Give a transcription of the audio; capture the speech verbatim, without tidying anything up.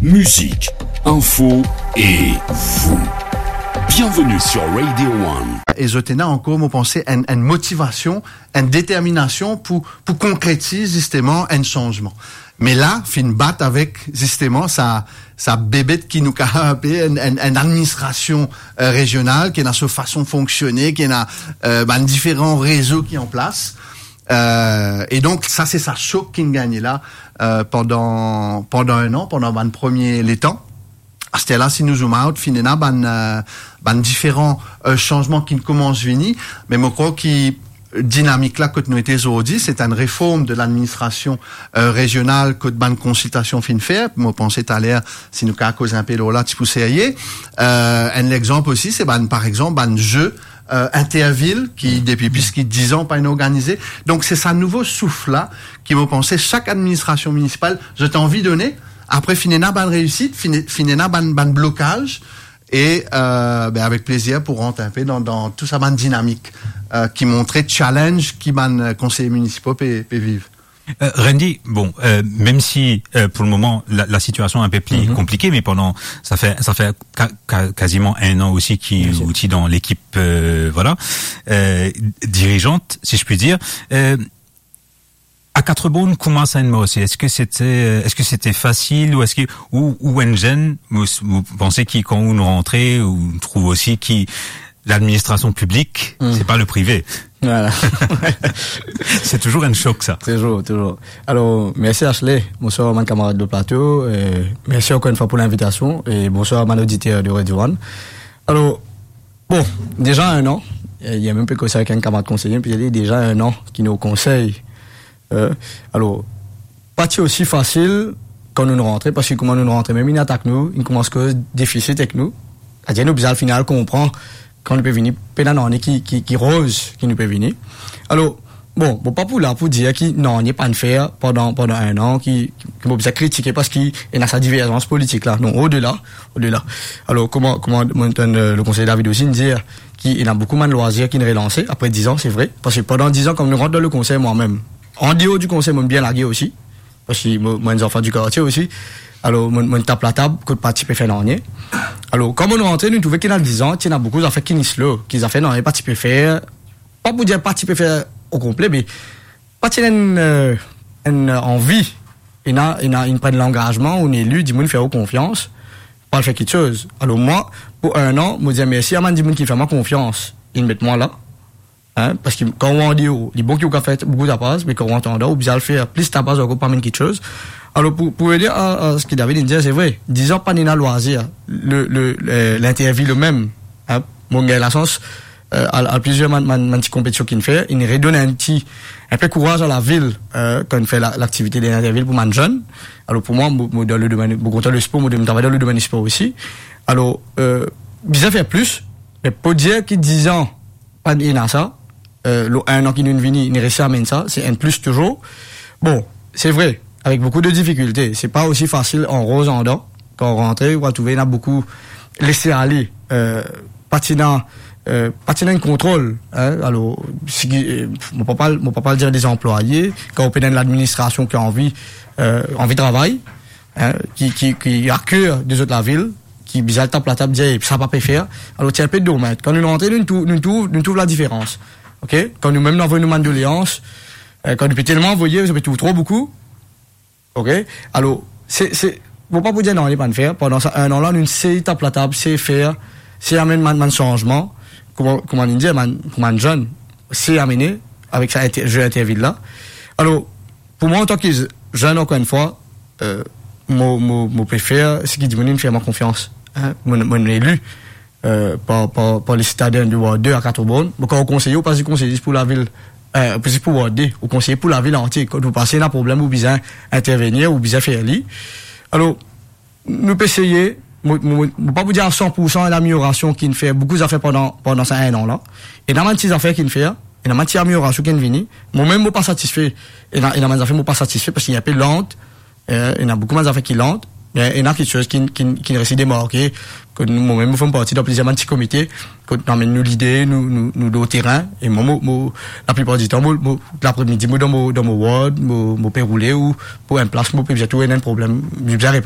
Mizik, info e vou. Bienvenue sur Radio One. E zot ena ankor, mo panse, enn, enn motivasion, enn determinasion pou, pou konkretiz zisteman enn sanzman. Me la, finn bat avek zisteman sa, sa bebet ki nou kapav apel enn, enn, enn administrasion, euh, rezional, ki ena so fason fonksione, ki ena, euh, bann diferan rezo ki an plas. Euh, e donk, sa se sa sok ki'nn gagne la, euh, pandan, pandan enn an, pandan bann premie letan. Aster la, si nou zoom out, finn ena bann, euh, bann diferan, euh, sanzman ki'nn koumans vini, me mo krwar ki dinamik la kot nou ete zordi, se enn reform de ladministrasion, euh, rezional kot bann konsiltasion finn fer. Mo panse taler, si nou kapav koz inpe lor la, ti pou serye. Euh, enn lexanp osi, se bann, par exanp, bann ze, euh, intervil ki depi plis ki diz an pa inn organize. Donk, se sa nouvo souf la ki, mo panse, sak administrasion minisipal, zot anvi done. Apre, finn ena bann reisit, finn, finn ena bann, bann blokaz. E, euh, be, avek plezir pou rant inpe dan, dan tou sa bann dinamik, euh, ki montre challenge ki bann, euh, konseye minisipo pe, pe viv. Euh, Randy, bon, euh, mem si, euh, pou le moman, la, la sitiasion inpe pli konplike, me pandan, sa fer, sa fer ka-, ka-, kaziman enn an osi ki ou ti dan lekip, euh, vwala, euh, dirizant, si je puis dire. Euh, a Quatre-Bornes, kouma sa inn marse? Eski sete, euh, eski sete fasil ou eski, ou, ou enn zenn, ou, ou panse ki kan ou rantre, ou trouv osi ki ladministrasion piblik, se pa le prive. Vwala. Se touzour enn sok, sa. Touzour, touzour. Alor, mersi Ashley. Bonswar bann kamarad de plato. Euh, mersi ankor enn fwa pou linvitasion. E bonswar bann oditer de Radio One. Alor, bon, deza enn an, euh, ena mem pe koz sa avek enn kamarad konseye, pe dir li deza enn an ki nou o konsey. Euh, alor, pa ti osi fasil kan nou rantre, parski kouma nou rantre, mem inn atak nou, inn koumans koz defisit ek nou. Savedir nou bizin al fini al konpran kan nou pe vini, pena nanye ki, ki, ki roz ki nou pe vini. Alor, bon, mo pa pou la pou dir ki nanye pa'nn fer pandan, pandan enn an, ki, ki, ki mo bizin kritike parski ena sa diverzans politik la. Non, odela, odela. Alor, kouma, kouma mo tann, euh, le konseye David osi inn dir ki ena boukou bann lwazir ki'nn relanse apre diz an, se vre. Parski pandan diz an, kan nou rant dan le konsey, mwa mem, an deor di konsey, mo'nn bien lage osi. Parski mo, mo enn zanfan di kartie osi. Alor, mo'nn, mo'nn tap latab kot pa ti pe fer nanye. Alor, kan mo'nn rantre, nou trouve ki ena diz an, ti ena boukou zafer ki'nn slow, ki zafer nanye pa ti pe fer. Pa pou dir pa ti pe fer okonple, me pa ti ena enn, euh, enn, euh, anvi. Ena, ena, inn pran langazman, ou ena eli, dimoun fer ou konfians, pou al fer kiksoz. Alor mwa, pou enn an, mo dir mersi a bann dimoun ki fer mwa konfians, inn met mwa la. Hein, parski kan ou an deor, li bon ki ou kapav fer boukou tapaz, me kan ou andan, ou bizin al fer plis tapaz ankor pou amenn kiksoz. Alor, pou, pou revnir a, a seki David inn dir, se vre, diz an pa'nn ena lwazir, le, le, le, lintervil mem, hein, mo'nn gagn lasans, euh, al, al plizier bann, bann, bann ti konpetision ki'nn fer, inn redonn enn ti, enpe kouraz a lavil, euh, kan fer la, laktivite de lintervil pou bann zenn. Alor, pou mwa, mo, mo dan le domenn, mo kontan lespor, mo, mo travay dan le domenn spor osi. Alor, euh, bizin fer plis, me pou dir ki diz an, pa'nn ena sa, euh, lor enn an ki nou'nn vini, nou resi amenn sa, se enn plis touzour. Bon, se vre, avek boukou de difikilte, se pa osi fasil an roz andan, kan ou rantre, ou va trouve ena boukou lese ale, euh, pa ti ena, euh, pa ti ena enn kontrol, hein, alor, seki, euh, mo pa pou al, mo pa pou al dir de zanplwaye, kan ou pena enn ladministrasion ki anvi, euh, anvi travay, hein, ki, ki, ki a ker de zot lavil, ki bizin al tap latab, dir, "Eh, sa pa pe fer." Alor, ti enpe domaz. Kan nou rantre, nou trouv, nou trouv, nou trouv ladiferans. Ok? Kan nou mem nou avoy nou bann doleans, euh, kan nou pe telman avoye, nou pe trouv tro boukou. Ok? Alor, se, se, mo pa pou dir nanye pa'nn fer. Pandan sa enn an la, nou sey tap latab, sey fer, sey amenn bann, bann sanzman. Kouma, kouma nou dir, bann, pou bann zenn, sey amene avek sa inter-, ze intervil la. Alor, pou mwa, antan ki zenn, ankor enn fwa, euh, mo, mo, mo pe fer seki dimoun inn fer mwa konfians, hein, mo, mo eli, euh, par, par, par le sitaden de Ward de a Quatre-Bornes. Bon, kan ou konseye, ou pa zis konseye zis pou lavil, euh, zis pou Ward de, ou konseye pou lavil antie. Kan ou panse ena problem, ou bizin intervenir, ou bizin fer li. Alor, nou pe eseye, mo, mo, mo pa pou dir a san pou san enn ameliorasion ki'nn fer, boukou zafer pandan, pandan sa enn an la. Ena bann ti zafer ki'nn fer, ena bann ti ameliorasion ki'nn vini. Mo mem, mo pa satisfe. Ena, ena bann zafer mo pa satisfe parski li enpe lant. Eh, ena boukou bann zafer ki lant, me ena kiksoz ki, ki, ki resi demarke, kot nou, mo mem, mo fer parti dan plizier bann ti komite, kot nou amenn nou lide, nou, nou, nou lor terin, e mwa, mo, mo, laplipar ditan, mo, mo, lapremidi, mo dan mo, dan mo ward, mo, mo pe roule, ou pou enn plas, mo pe bizin trouv enn problem, mo bizin reponn